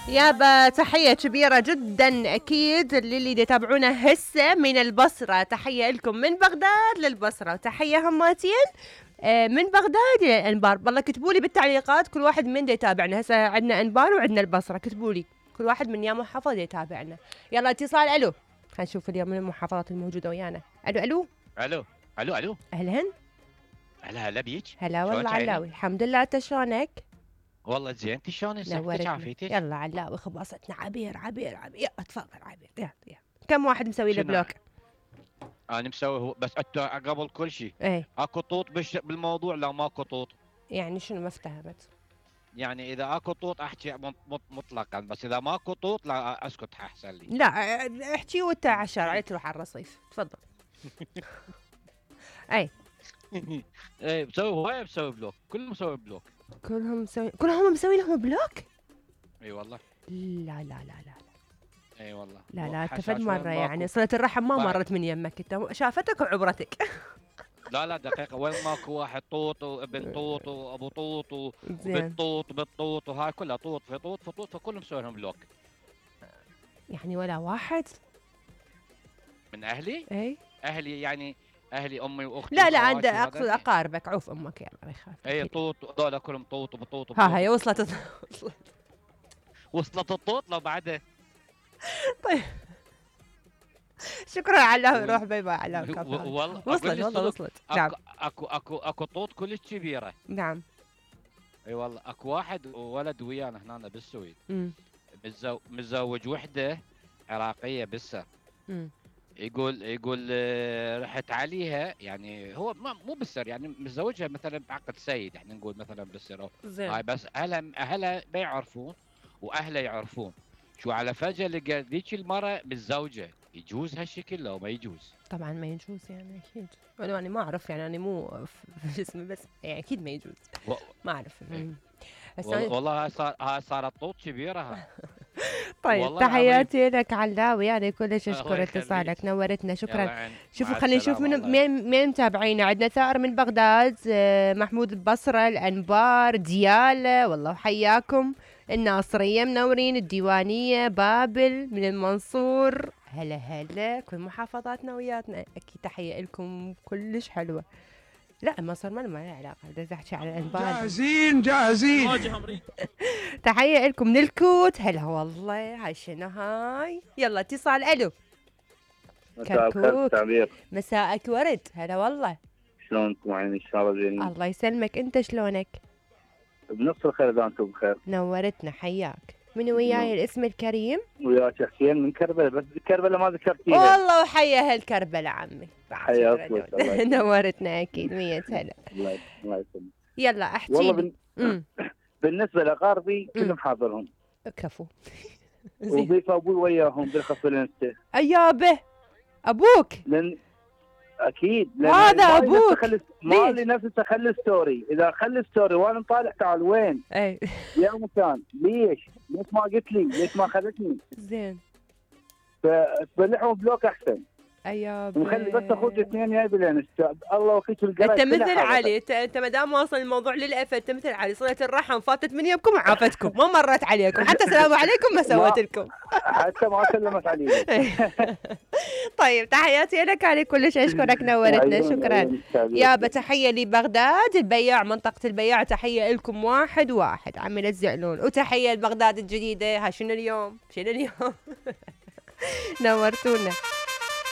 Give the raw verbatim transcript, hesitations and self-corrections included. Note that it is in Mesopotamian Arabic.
يابا تحية كبيرة جدا أكيد للي يتابعونا هسه من البصرة. تحية لكم من بغداد للبصرة، وتحية هماتين من بغداد للأنبار. والله كتبوا لي بالتعليقات كل واحد من دي يتابعنا. هسه عندنا أنبار وعندنا البصرة، كتبوا لي كل واحد من يا محافظة يتابعنا. يلا اتصال. ألو، خلينا نشوف اليوم من المحافظات الموجودة ويانا. ألو ألو ألو ألو ألو أهلا هلا هلا بيك. هلا والله علاوي، الحمد لله. انت شلونك؟ والله زين. انت شلون صحتك عافيتك؟ يلا علاوي خبصتنا عبير عبير عبير. يلا تفضل عبير. يلا يلا. كم واحد مسوي له بلوك؟ انا مسوي هو بس انت قبل كل شيء ايه اكو طوط بالموضوع؟ لا ماكو طوط. يعني شنو؟ ما افتهمت. يعني اذا اكو طوط احكي مطلقا، بس اذا ماكو طوط لا اسكت احسن لي. لا احكي وانت على الشارع، لا تروح على الرصيف. تفضل. اي ايه مسوي هوايه، مسوي بلوك، كلهم مسوي بلوك. كلهم مسوي كلهم مسوي لهم بلوك؟ اي والله. لا لا لا لا اي والله. لا لا تفد مرة يعني صلة الرحم ما مرت من يمك انت، شافتك وعبرتك. لا لا دقيقة، وين ماكو واحد طوط وابن طوط وابو طوط وبنت طوط وبنت طوط وهاي كلها طوط في طوط في طوط، فكلهم مسوي لهم بلوك. يعني ولا واحد من اهلي؟ اي اهلي يعني اهلي امي واختي. لا لا عند اقصد اقاربك. عوف امك يلا ما يخاف. اي طوط هذول كلهم طوط وبطوط. ها هي وصلت وصلت وصلت الطوط لو بعده. طيب شكرا على روح. باي باي على والله وصلت والله وصلت. نعم اكو اكو اكو طوط كلش كبيره. نعم اي والله. اكو واحد ولد ويانا هنا بالسويد متزوج وحده عراقيه بالسر. يقول يقول رحت عليها، يعني هو مو بالسر، يعني متزوجها مثلا بعقد سيد، احنا نقول مثلا بالسر هاي، بس اهلها اهلها ما يعرفون واهله يعرفون. شو على فجأة لقى ذيك المرة متزوجة، يجوز هالشكل لو ما يجوز؟ طبعا ما يجوز يعني اكيد. انا يعني ما اعرف، يعني انا مو في جسمي بس يعني اكيد ما يجوز. و... ما اعرف. والله والله هاي صار هاي صارت طوط كبيرة هاي. طيب تحياتي لك علاوي، يعني كلش اشكر اتصالك، نورتنا. شكرا. شوفوا خلينا نشوف من مين مين متابعينا. عندنا ثائر من بغداد، محمود البصرة، الانبار، ديالة، والله حياكم. الناصرية منورين، الديوانية، بابل من المنصور. هلا هلا كل محافظاتنا وياتنا اكيد. تحية لكم كلش حلوة. لا مصر ما لها علاقة، بدي احكي على الانبار. جاهزين جاهزين. تحية لكم من الكوت. هلا والله. هاي شنو هاي؟ يلا اتصال. الو كركوك. مساءك ورد. هلا والله. شلونكم عيني؟ ان شاء الله زين. الله يسلمك. انت شلونك؟ بنص الخير اذا انتم بخير. نورتنا. حياك. من وياي الاسم الكريم؟ وياك حسين من كربلاء، بس كربلاء ما ذكرتيها. والله وحيا اهل كربلاء عمي. حياك. نورتنا اكيد. مية هلا. الله يسلمك. يلا احكي. والله بن... بالنسبه لاقاربي كلهم حاضرهم. كفو. وضيف ابوي وياهم بالخص الانستا. ايابه ابوك. لن اكيد هذا ابوك. ما لي نفسي اخلي ستوري، اذا اخلي ستوري وانا طالع تعال وين؟ اي يا مكان. ليش؟ ليش ما قلت لي؟ ليش ما خذتني؟ زين. فتبلعهم بلوك احسن. ايابه. وخلي بس اخوك اثنين جاي بالانستا. الله وكيل القرا. انت مثل علي. انت انت ما دام واصل الموضوع للأف، انت مثل علي. صلة الرحم فاتت من يمكم وعافتكم، ما مرت عليكم، حتى سلام عليكم ما سوت لكم. حتى ما سلمت عليك. طيب تحياتي لك علي، كلش اشكرك. نورتنا. شكرا يابا. تحيه لبغداد البياع، منطقه البياع. تحيه لكم واحد واحد عمي لا تزعلون. وتحيه لبغداد الجديده. ها شنو اليوم؟ شنو اليوم؟ نورتونا.